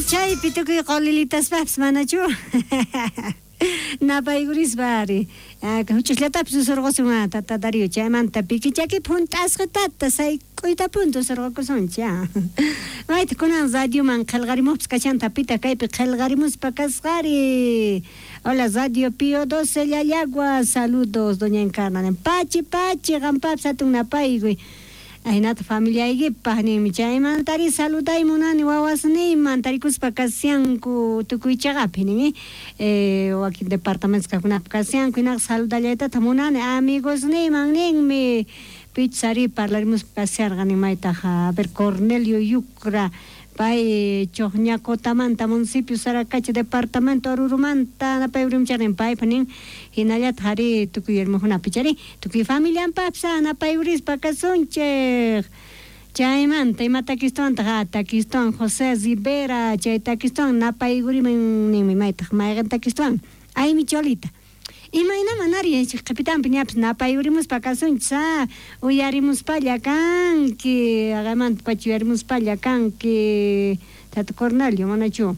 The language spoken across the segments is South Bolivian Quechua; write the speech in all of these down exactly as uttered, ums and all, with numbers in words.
Chaypi tukuy qolilitaspapis manachu napaykurispa ari huch'uyllatapis usurqusun tata Darío chaymanta pikichaki phunt'asqitata sayk'uytapunta usurqukusunchik mayta kunan radioman qillqarimuqpis kachanta pita kaypi qillqarimuspa kasqari. Hola Radio Pío doce Llallagua, saludos doña Encarna pachi pachi qampapis hatun napaykuy ahinata familiaykipaq ninmi chaymantari saluday munani wawasniyman tarikuspa kasianku tukuy chaqapi nin eh, wakin departamentos kaqkunapi kasianku hinaqa saludallaytataq munani amigosniyman ninmi pichus parlarimuspa kasiarqa nin maytaq a ver Cornelio Yucra pay Chojñacotamanta municipio Saracacha departamento Orurumanta napayurimcharnin paypa nin hinallataq ari tukuy hermojunapi chari tukuy familianpapis napayurispa kasunchik chaymanta ima takistuwantaq takistuwan José Rivera chay takistuwan napaykuriman ninmi maytaq mayqin takistuwan aymi cholita imaynaman ari qhipitanpi ñapis napayurimuspa kasunchis a uyarimuspalla kanki aqaymanta pacha uyarimuspalla kanki tata Cornelio manachu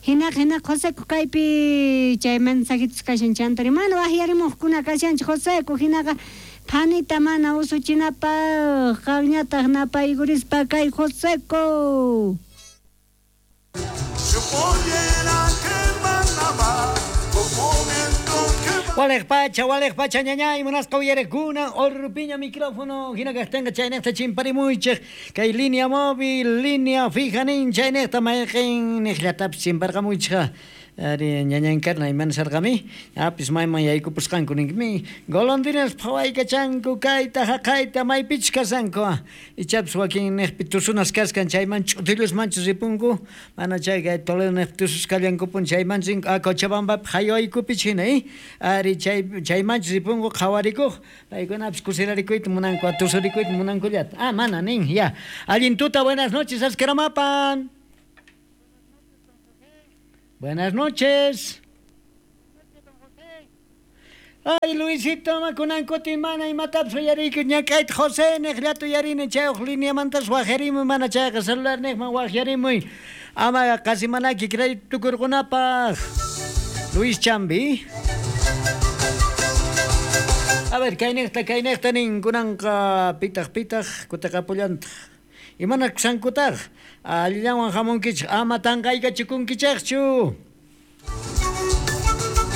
hinaqa hinaqa Joseco kaypi chay mensajitos kashan chantari mana waqyarimuqkuna kashanchik Joseco hinaqa phanita mana usuchinapaq qanñataq napaykurispa kay Joseco. Walej pacha, walej pacha, ñañay, munasqa uyarekuna, orpiña micrófono, hina kaqtinqa chaynejta chimparimuychik, kay línea móvil, línea fija nin chaynejta mayqin niqllatapis chimparqamuychikqa. Ari ñaña Encarna imana sarqami, apis mayman yaykupusqanku ninkmi, golondrinas phawaykachanku kayta haqayta maypichus kashanku, ichapis wakin niqpi tusunas kaskan chayman ch'utillusmanchus ripunku, mana chay kay Toledo niqpi tususqallankupun chayman rinku, a Cochabambapi haywaykupichus hina, eh? Ari chay chaymanchus ripunku qhawarikuq, paykunapis kusirarikuyta munanku, tusurikuyta munankullata. Ah, mana nin, ya. Allin tuta, buenas noches, askaramapan. Buenas noches. Ay, Luisito, makunankutin mana imatapis uyariyku ñak'ayta José niqllata uyarini chayuq lineamantas waqyarimuy mana chayqa celular niqman waqyarimuy ama qasi manaki crédito tukurqunapaq. Luis Chambi. A ver, kayniqta kayniqta nin kunanqa pitaq pitaq kutaqapullantaq. Imana kusankutaq allillanwan hamunkichik ama tanqaykachikunkichikchu.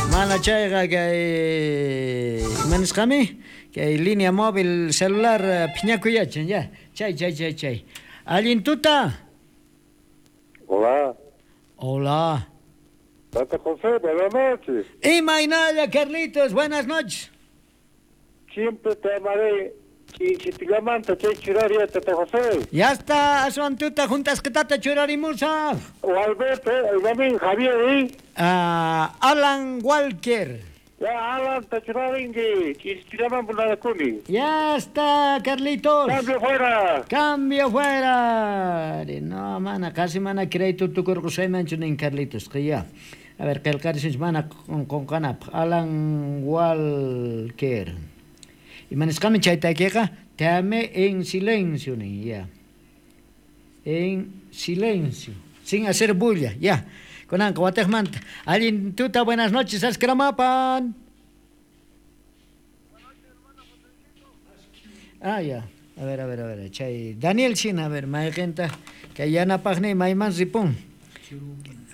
Mana chayqa kay ima nisqami kay línea móvil celular phiñakuyachin ya. Chay chay chay chay. Allin tuta. Hola. Hola. Tata José, buenas noches. Imaynalla, Carlitos, buenas noches. Siempre te amaré. Chichipilamanta chay churaria Tata José. Ya está, aswan tuta juntas que tata churarimusa. O Alberto, el domingo Javier, ¿eh? Ah, Alan Walker. Ya, Alan, te churaringi, chichipilaman bunadakuni. Ya está, Carlitos. Cambio fuera. Cambio fuera. No, mana, casi mana crédito tukurqusaymanchu nin Carlitos, que ya. A ver, qillqarisunchik mana qunqanapaq. Alan Walker. Imanisqami chay takiqa te amé en silencio nin ya. En silencio, sin hacer bulla, ya. Kunanqa wataqmanta. Allin tuta, buenas noches, askramapan. Ah, ya. A ver, a ver, a ver, chay Daniel China, a ver, mayqinta kay yanapaqni mayman ripun.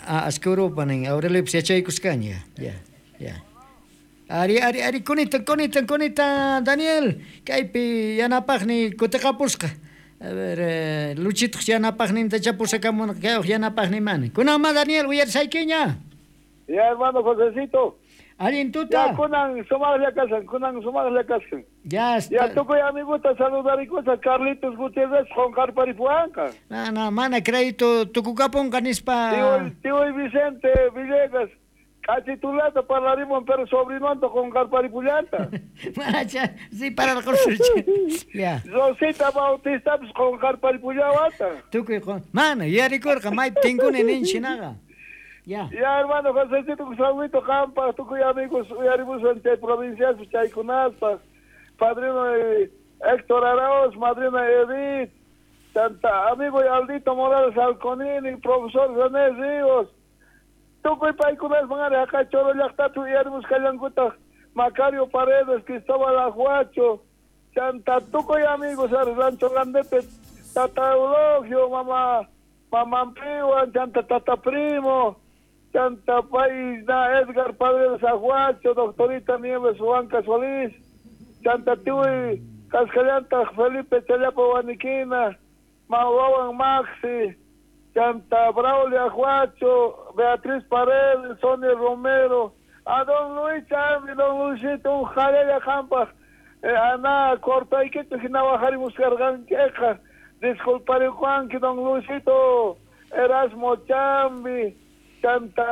Ah, askurupa nin, Aurelio yachaykusqaña, ya, ya. Ari, ari, ari, kunita, kunita, kunita, Daniel. Kaypi yanapaqni kutiqapusqa. A ver, eh, Luchituq yanapaqninta chapusakamun kayuq yanapaqni mani. Kunanma, Daniel, uyarisaykiña. Ya, hermano Josecito. Allin tuta. Ya, kunan sumaqlla kasan, kunan sumaqlla kasan. Ya está. Ya, tukuy amiguta saludarikusa Carlitos Gutiérrez qunqarparipuwanqa. No, no, mana crédito tukukapunqa nispa. Tío, tío Vicente Villegas. Cachitulata parlarimos, pero sobrinonto con carparipullanta. Manacha, sí, para el curso. Ya. Rosita Bautista pues, con carparipullawata. Tukuy con. Mano, yarikurqa maypi tinkuni ninchinaqa. Ya. Ya, hermano Josecito, saludito campa, tukuy amigos, uyarimus ante provincias, chaykunaspa. Padrino eh, Héctor Arauz, madrina Edith, Chanta amigo Aldito Morales Alconini, profesor René Ríos, tukuy paykunasman ari haqay Choro llaqtapi uyarimusqallankutaq Macario Paredes, Cristóbal Ajuacho, chanta tukuy amigos ari Rancho Grandepe, Tata Eulogio, mama Mamampiwan, chanta Tata Primo, chanta pay na Edgar Paredes Ajuacho, doctorita Nieves Huanca Solís, chanta tiuy Cascallanta Felipe Challapa Huaniquina, Mawawan Maxi, chanta Braulio Ajuacho, Beatriz Paredes, Sonia Romero, a don Luis Chambi, don Luisito, un jalella jampa, eh, ana cortayquito, hinawa harimuscarganqueja, disculparicuanqui, don Luisito, Erasmo Chambi, chanta,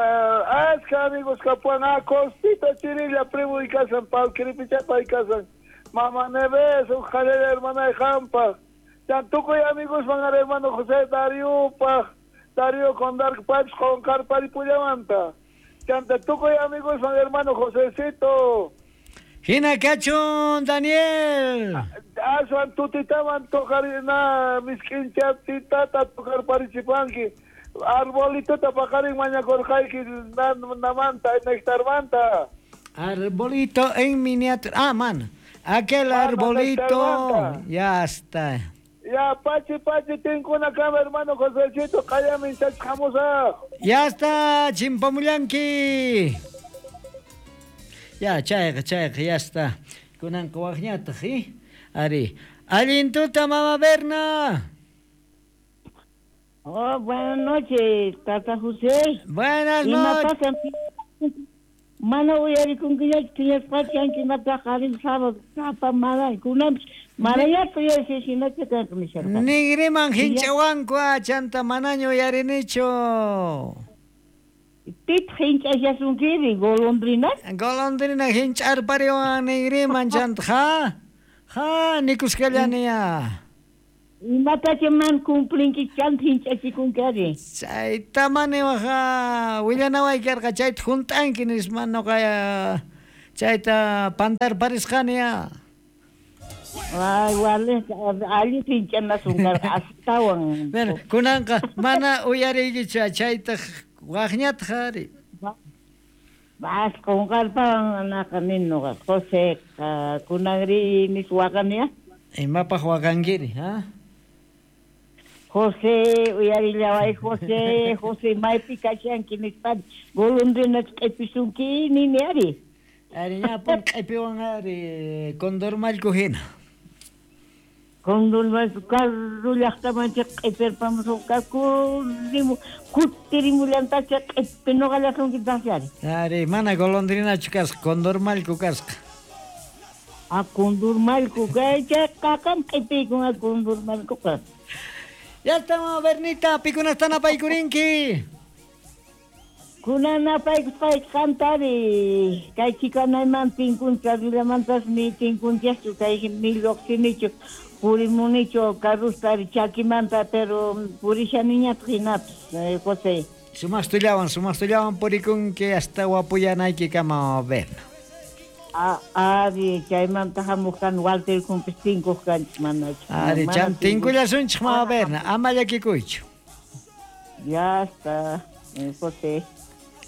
asca amigos capuan, a Costita Chirilla, primo y casan, Palquiripichapa y casan, Mamá Neves, un jalella hermana de jampa, Chantuco y amigos van a hermano José Darío Paj, Darío con Dark Pipes con Carpari Puyamanta. Chantuco y amigos van hermano Josecito. Hina cachun, Daniel. Asuan tutitaman tocarina, misquinchatitata tocar parichipanqui. Arbolito tapacarin mañacorjaiki namanta, nectarmanta. Arbolito en miniatura. Ah, man. Aquel arbolito. Ya está. Ya, pachi, pachi, tengo una cama, hermano Josecito, cállame, chachamusa. Ya está, chimpamullanqui. Ya, chayqa, chayqa, ya está. Kunanqa waqñataq, ¿eh? Ari. Allintuta, mama Berna. Oh, buenas noches, tata José. Buenas noches. Mana uyarikunkiñachu phiñasqachu imataqa sábado tapa mana kunanpis manañachu uyarishani shinachu kanqa nisharqani. Nigriman hinchawanku chanta manaña uyarinichu. Pitaq hinch'ashasunkiri golondrina? Golondrina hinch'arpariwan nigriman chanta ha ha nikusqallaniya. Imatacha man cumplinki chanta hinch'achikunki ari. Chayta maniwaqa willanaway karqa chayta hunt'anki nispa nuqa chayta pantarparisqaniya. Ay, wale, allin hinch'anasun karqa astawan. Bueno, kunanqa mana uyariykichu chayta waqñataq ari. Vas qunqarpawan anaqa nin nuqa José kunanri nis waqaniya. Imapaq waqankiri, ha? José, uyarillaway José, José maypi kashanki nispa golondrina q'ipisunki nini ari. Ari ñapun q'ipiwan ari condormallku hina. Condormallku carro llaqtamanchik q'ipirpamusunqaku rimu kutirimullantachá q'ipi nuqallasunkitaqsi ari. Ari mana golondrinachu kasqa condormallku kasqa. A condormallku kay chay qaqam q'ipiykun a condormallkuqa. Ya estamos, Bernita, pikunastan apaykurinki. Kunan apaykusqayki qantari kay chikanayman tinkuncha rillamantas ni tinkunchaschu kay ni lluqsinichu purimunichu carrustari chakimanta pero purishaniñataq hinapis José. Sumastullawan, sumastullawan purikunki hasta wapuyanaykikama, Berna. Ah, ari chaymanta hamuq kan Walter kumpis tinkuq kanchik manachu. Ari chan tinkullasunchik mama Berna, ama llakikuychu. Ya está, José.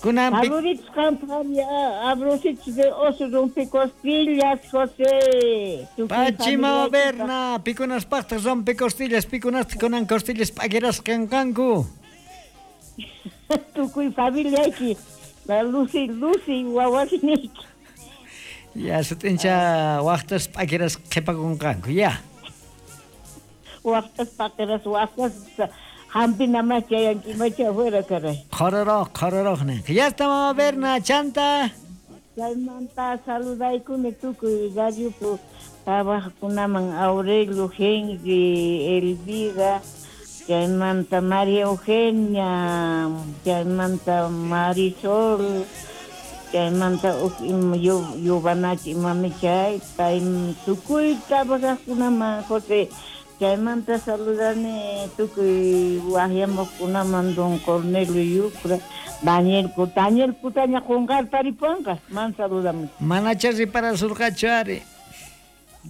Kunan Saluditos qanpaq abrositos de oso rompecostillas, José. Pachi mama Berna, pikunaspaqtaq rompecostillas, pikunastaq kunan costillas p'akirasqa kanqanku. Tukuy familiayki, la Lucy, Lucy wawasiniyki. Ya, sutincha waqtas p'akiras qhipakunqanku, ya. Waqtas p'akiras, waqtas hampinamas chayankimacha afuera, caray. Qhororoq, qhororoq ninqa. Ya está, mama Berna, chanta. Chaymanta saludaykuni tukuy radiopi trabajaqkunaman Aurelio, Henry, Elvira, chaymanta María Eugenia, chaymanta Marisol, chaymanta yubanachi imami chay pay tukuy trabajaqkunaman José. Chaymanta saludani tukuy waqyamuqkunaman don Cornelio Yucra, Daniel Daniel Putaña qunqarparipuwanqa man saludamuch. Manacha riparasurqachu ari.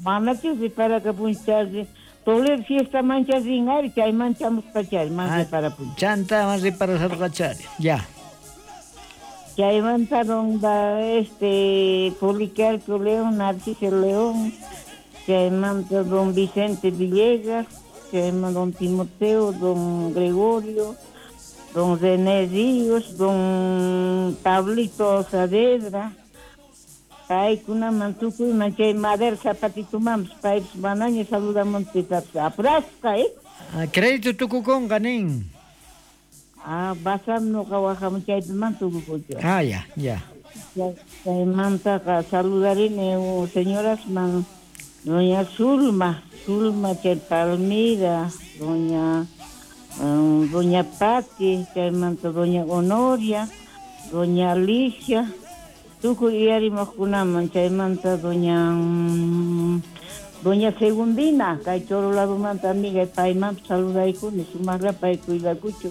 Manacha riparakapunchu ari Toledo fiesta mancha rin ari chay manchamusqachari man Ah, reparapun. Chanta man reparasarqachari. Ya. Chaymanta donda este Policarpio León, Narciso León, chaymanta don Vicente Villegas, chaymanta don Timoteo, don Gregorio, don René Ríos, don Pablito Saavedra, paykunaman tukuyman chay Madera Zapatitumanpis paypis manaña saludamuntitapis apurasqa, eh? Ah, crédito tukukunqa nin. Ah, basam nuqa wajamun chaypiman tukukuchu. Ah, ya, ya. Chaymantaqa saludarini oh, señorasman doña Zulma, Zulma chay Palmira, doña um, doña Pati, chaymanta doña Honoria, doña Alicia, tukuy uyarimuqkunaman chaymanta doña mm, doña Segundina, kay Choro ladumanta amiga paymanpis saludaykuni, sumaqla pay cuidakuchu.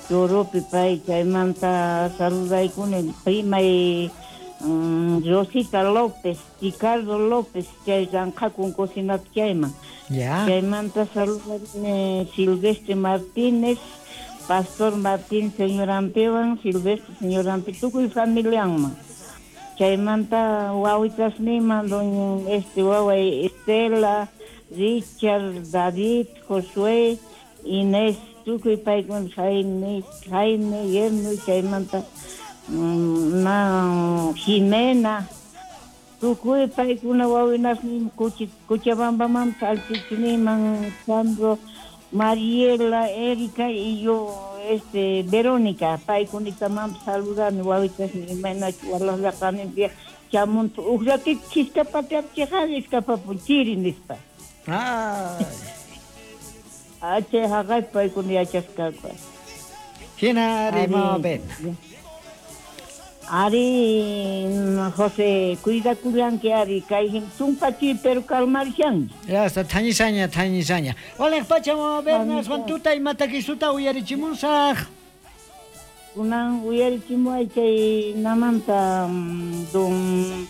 Choropi pay chaymanta saludaykuni primay mm, Rosita López, Ricardo López, chay ranqhakun cocinapi chayman. Ya. Chaymanta saludarini Silvestre Martínez, Pastor Martín señor Ampewan, Silvestre señor Ampe, tukuy familianman. Chaymanta wawitasniman doña este waway Estela, Richard, David, Josué, Inés, tukuy paykuna Jaime, Jaime, Yerno, chaymanta mm, na Jimena, tukuy paykuna wawinasnin Kuchi Cochabambaman salchichiniman Sandro, Mariela, Erika y yo este Verónica, paykunitamanpis saludani wawitasnin imaynachu walaqlaqaninpi chamuntu uj ratito chiskapatiapi chayqa iskapapun chiri nispa. Ay. Ah, chay haqaypi paykuna yachasqaku. Hina ari Ari. mama Berna. Ari, José, cuidakullanki ari, kay tumpa chiri pero calmarishanki. Ya está, thañisaña, thañisaña. Waliq pacha mama Berna, aswan tuta imatakisuta uyarichimusaq. Kunan uyarichimuay chay namanta mm, don